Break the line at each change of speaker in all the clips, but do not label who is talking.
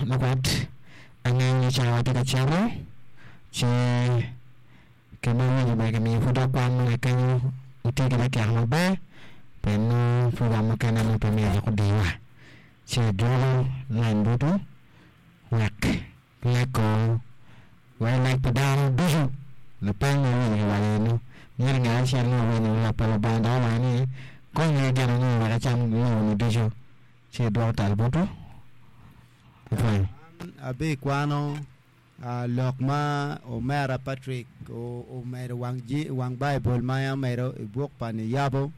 Lakwat, angeyo ni cawa tye ka cito, ci kit ma awinyo bene kimiyo pud dok kwan mo kenyo wutye ki dakika maber pien nongo program mukene nongo pe myero dok odiwa. Ci adwogo lain botwu wek leko wek lek pa dano ducu lapeny ma iwinyo kiwaco eno myero ngat acel nongo owinyo lok pa Lubanga dok owaco ni konye gin ango wek ecam lobo-ni ducu ci edwoko tal botwu. Ipwonyo.
An abikwano lok ma omera Patrick omedo wang Baibul ma en omedo i buk pa Niyabo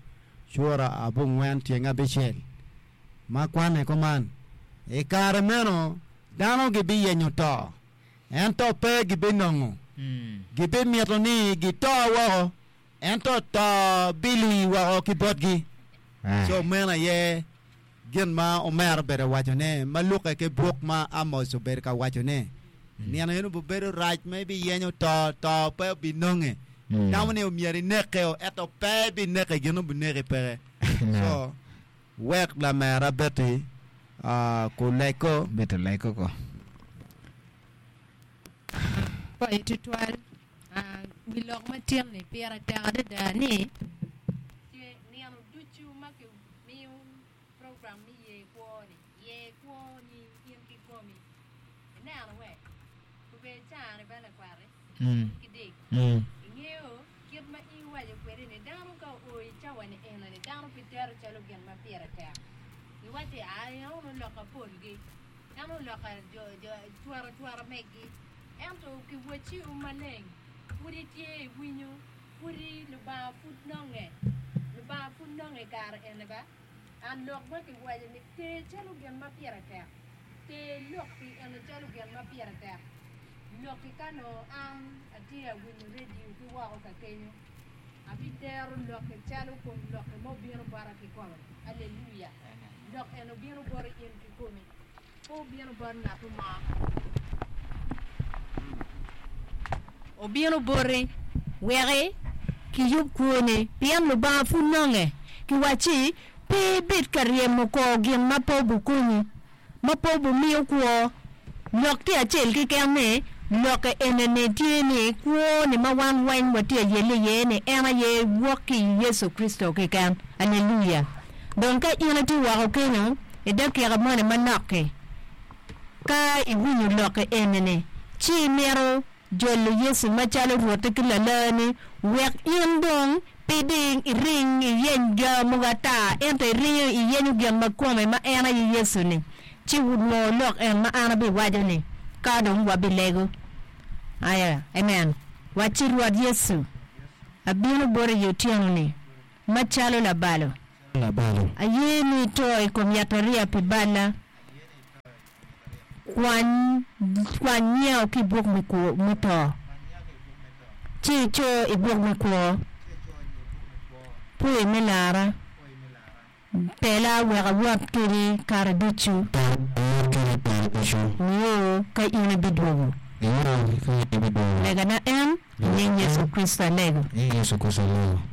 cura abongwen tyeng abicel ma kwane kuman, I kare meno dano gibiyenyo to, ento pe gibinongo, gibimito ni gito woko, ento to bilwi woko ki botgi. Co meno aye gin ma omera obedo ka wacone ma lukke ki buk ma Amos obedo ka wacone. Nino eno obibedo rac ma ibiyenyo to, to pe obinonge. Itamo ni omyero ineke-o, ento pe ibineke, gin obineki peke. Co wek lamera Betty kuleko.
Betty oleko ko.
Pwoyo tutwal. Wi lok ma tin-ni pire tek adada ni nino ducu ma kimiyo program me ye kwo-ni, ye kwo-ni in kikomi. Ineno we? Obedo caa-ni bene lakwat-ti ki dek. Ingeyo kit ma in iwaco kwede ni dano ka oo i cawa-ni eno-ni dano pe tero calo gin ma pire tek. Giwacci, Aa, en oloka polgi, en oloka cwara cwara megi. Ento kiwacciwu maleng, pud itye iwinyo, pudi Lubanga pud nonge, Lubanga pud nonge i kare eni ba. An lok ma kiwaco ni ter calo gin ma pire tek, ter lok-ki eni calo gin ma pire tek. Lok-ki ka nongo an atye awinyo redio ki woko ka kenyo, abitero lok-ki calo kom lok-ki ma obino bota kikome. Aleluya! Lok eni obino boti in kikomi. Pe obino bot ngat mo. Obino boti wek kiyub kwoni, pien Lubanga pud nonge. Kiwacci, Pe ibed ka ryemo kor gin ma pe obikonyi, ma pe obimiyo kwo. Lok tye acel keken ni, lokke ene-ni tye ni, kwo-ni ma wan weng watye ayelle iye-ni en aye wok ki i Yecu Kricito keken. Aleluya! Dong ka in itye woko kenyo i dakika moni manok-ki, ka iwinyo lokke eni-ni, ci imito jolo Yecu macalo Rwotti ki Lalarni, wek in dong pe iding iring iyeny ga mogo ata, ento iringo iyenyo gin ma kome ma en aye Yecu-ni, ci wunwo lok en ma an abiwaco-ni, ka dong wabilego. Aya, amen. Wacci, Rwot Yecu, abino boti i otyeno-ni. Macalo labalo, aye ni ito i kom yatariya pi balla, kwany kwany nyao ki i buk me kwo me to, ci ico i buk me kwo. Pwoyi me lara, tela wek awot kedi kare ducu, nio ka in ibidwogo. Legana en. I nying Yecu Kricito alego.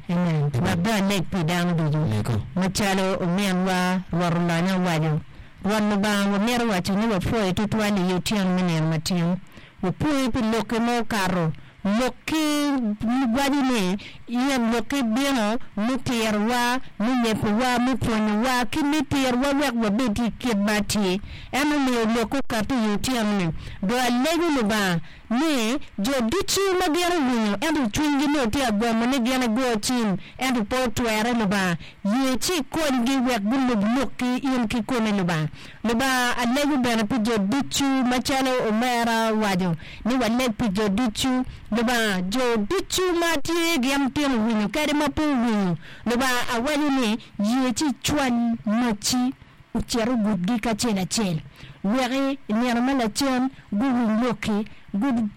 Amen. Wek dong aleg pi dano ducu. Macalo ominwa Rwot Olonya owaco, Rwot Lubanga, wamito waco ni wapwoyi tutwal i otyeno me nino matin. Wapwoyi pi lokki ma okato. Lokki waco ni in lokki bino me tirowa, me nyebowa, me pwonyowa, ki me tirowa wek wabed i kit ma atir. En omiyo lokki okato i otyeno-ni. Dong alego Lubanga ni jo ducu ma gin owinyo ento cwinygi nongo tye ka gomo ni gin ego cim ento pe otwere Lubanga ye ci ikonygi wek gulub lokki in kikome Lubanga. Lubanga alego bene pi jo ducu macalo omera owaco ni waleg pi jo ducu Lubanga jo ducu ma tye gin tino winyo kadi ma pe owinyo Lubanga awaco ni ye ci icwal macci ocit ogudgi kacel acel, wek i nino ma lacen guwiny lokki.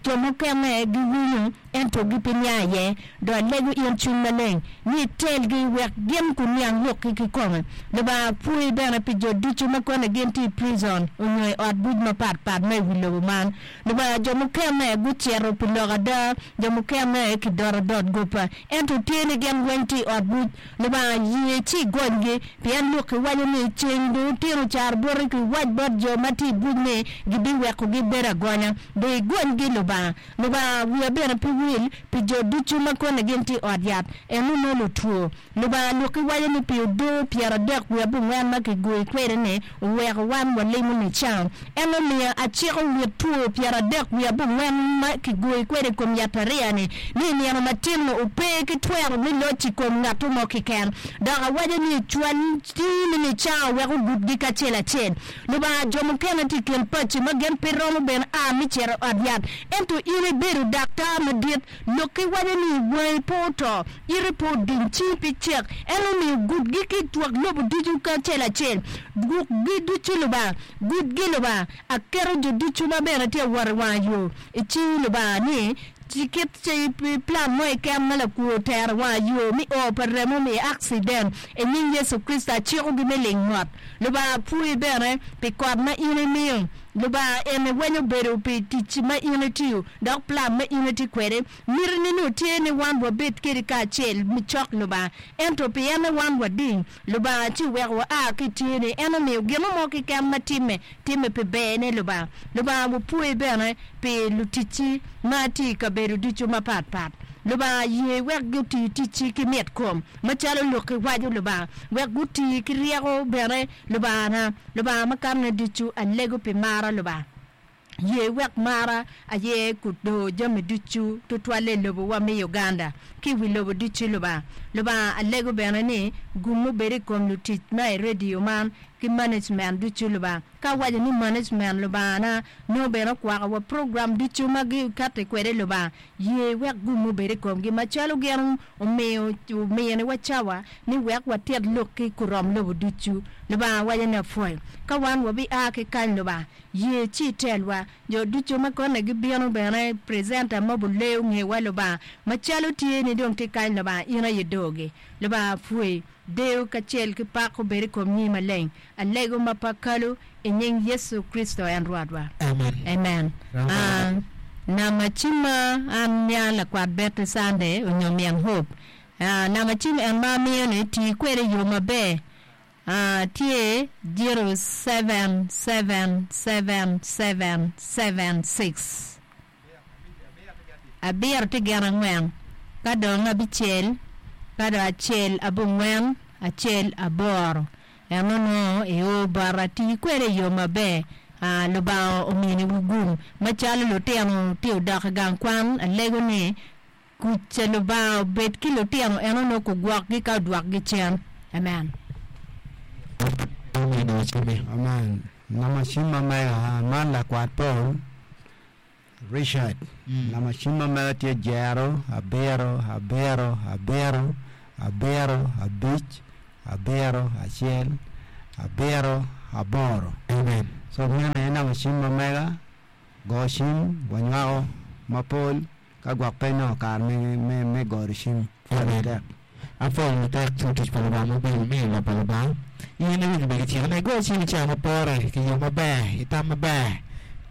Jo mukene giwinyo ento gipe niang iye. Dong alego in Cwiny Maleng ni itelgi wek gin guniang lokki kikome. Lubanga apwoyi bene pi jo ducu ma kone gin tye i prison onyo i ot buc mapat pat ma i wi lobo man. Lubanga jo mukene gucito pi lok ada, jo mukene kidoto dot gopa, ento tye ni gin weng tye i ot buc. Lubanga ye ci igonygi, pien lokki waco ni, Ceng dong otyeno caro boti, ki wac bot jo. jo ma tye i buc ni gibiwekogi bedo agonya. Dong igonygi, Lubanga. Lubanga, wiya bene pe wil pi jo ducu ma kone gin tye i ot yat, eno nongo lutwo. Lubanga lwokki waco ni pi odoo 34 ma kigoyi kwede-ni oweko wan walimo nicango. En omiyo aciko wit two 34 ma kigoyi kwede i kom yatariya-ni ni i nino matin-nu ope ki twero me loc i kom ngatto mo keken. Dok awaco ni cwal cwinyi me nicango wek ogudgi kacel acel. Lubanga, jo mukene tye i kin paci ma gin pe romo bene a me cito i ot yat, ento in ibedo daktar madit. Lokki waco ni, Wangi pe oto, iti pe oding, cingi pe cek. En omiyo gudgi ki i twak lobo ducu kacel acel. Gukgi ducu, Lubanga, gudgi, Lubanga. Aketo jo ducu ma bene tye ka wot i wanga yo i cingi, Lubanga, ni kit plan mo keken ma lakwo otero i wanga yo me o pa remo me akciden, i nying Yecu Kricito acikogi me ling mot. Lubanga apwoyi bene pi kot ma in imiyo. Lubanga eni weny obedo pi tic ma in itiyo dok plan ma in itye kwede. Miti ni nongo tye ni wan wabed kedi kacel me cok Lubanga. Ento pi en ni wan wading Lubanga ci oweko wa a ki tye ni en omiyo gino mo keken ma time, time pi ber ne Lubanga. Lubanga wapwoyi bene pi luticci ma tye i kabedo ducu mapat pat. Lubanga ye wek guti ticci ki mit kom macalo lokki waco Lubanga. Wek guti ki ryeko bene Lubangana, Lubanga ma kanone ducu, alego pi mara, Lubanga. Ye wek mara aye kudor jami ducu, tutwalle i lobowa me Uganda ki i wi lobo ducu, Lubanga. Lubanga, alego bene ni gum obed i kom lutic ma i radio man ki management ducu, Lubanga. Ka awaco ni management, Lubangana, nongo bene okwako wa program ducu ma gikatti kwede, Lubanga. Ye wek gum obed i komgi macalo gin omiyo ominiwa cawa ni wek watit lokki kurom lobo ducu. Lubanga waco ni apwoyo. Ka wan wabia ki kany Lubanga, ye ci itelwa. Jo ducu ma kone gibino bene presenter ma obuleyo ngewa Lubanga, macalo tye ni dong tye kany Lubanga in aye dogi. Lubanga apwoyi. Deyo kacel ki pak obed i kom nyingi maleng. Alego ma pe akalo i nying Yecu Kricito en Rwotwa.
Amen.
Amen. Nama cimma an nya lakwat Betty Sunday onyo min Hope. Nama cim en ma amiyo ni tii kwede i yo maber. Tye 077776. Abiro tye gin angwen, ka dong abicel, ka dong acel abongwen, acel aboro. En onongo io bota, ti kwede i yo maber. Lubanga ominiwu gum. Macalo lutino tye odok i gang kwan, alego ni kuc ca Lubanga obed ki lutino en onongo kugwokgi ka odwokgi cen. Amen.
Amen. Nama cim ma mega man lakwat Paul Richard. Nama cim ma mega tye jero abiro abiro abiro abiro abic abiro acel abiro aboro.
Amen.
So meno aye nama cim ma mega go cim wanywako mapol ka gwok pe nongo kare me goro cim.
Pwod
tek.
Apwoyo matek ci tic pa Lubanga maber imiyo lok pa Lubanga. In iwinyo bene kiciko ni igo cim i cawa ma pore, ki yo maber, i tam maber.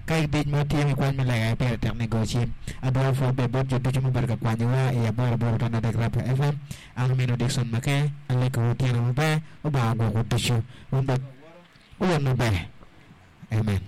Ka idic mo tye me kwany me lega aye pire tek ni igo cim. Adwoko pwoc bene bot jo ducu mubedo ka kwanyowa i aboro aboro tanda adek Rapra FM. An omino Dickson Maker, alego otyeno maber, Lubanga ogwokwu ducu. Wun bene wubed maber. Amen.